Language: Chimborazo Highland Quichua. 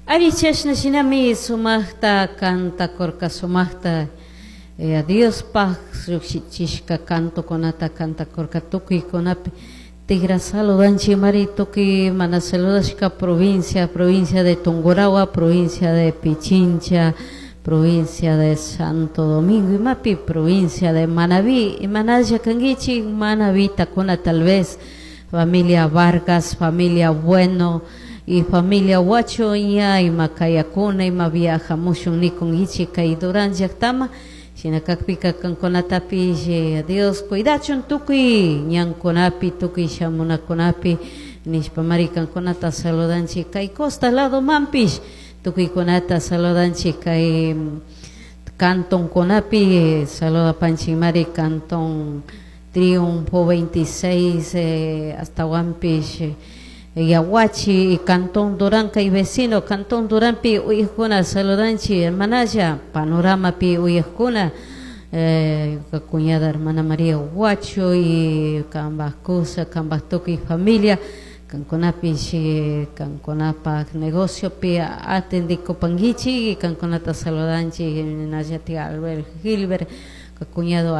Ari chashna shinami sumajta cantakurka, sumajta Diospaj llujshichishka cantokunata cantakurka tukuykunapi tigra saludanchikmari tukuy mana saludashka provincia, provincia de Tungurahua, provincia de Pichincha, provincia de Santo Domingo, imapi provincia de Manabí, imanalla kankichik Manabitakuna tal vez, familia Vargas, familia Bueno y familia Huacho ña ima kayakuna ima viajamushun nikunkichik kay Durán llaktama, shina kakpika kankunatapish Dios cuidachun tukuy ñankunapi, tukuy shamunakunapi nishpamari kankunata saludanchik kay costa lado manpish tukuykunata saludanchik kay cantonkunapi saludapanchikmari cantón Triunfo 26 hasta Yaguachi y Cantón Durán kay vecino Cantón Duranpi uyajkuna saludanchik hermanalla panoramapi uyajkuna cuñada hermana María Huacho y kambaj kusa kambaj tukuy familia kankunapish kankunapaj negociopi atendikupankichik y kankunata saludanchik nallatik Albert Gilbert cuñado.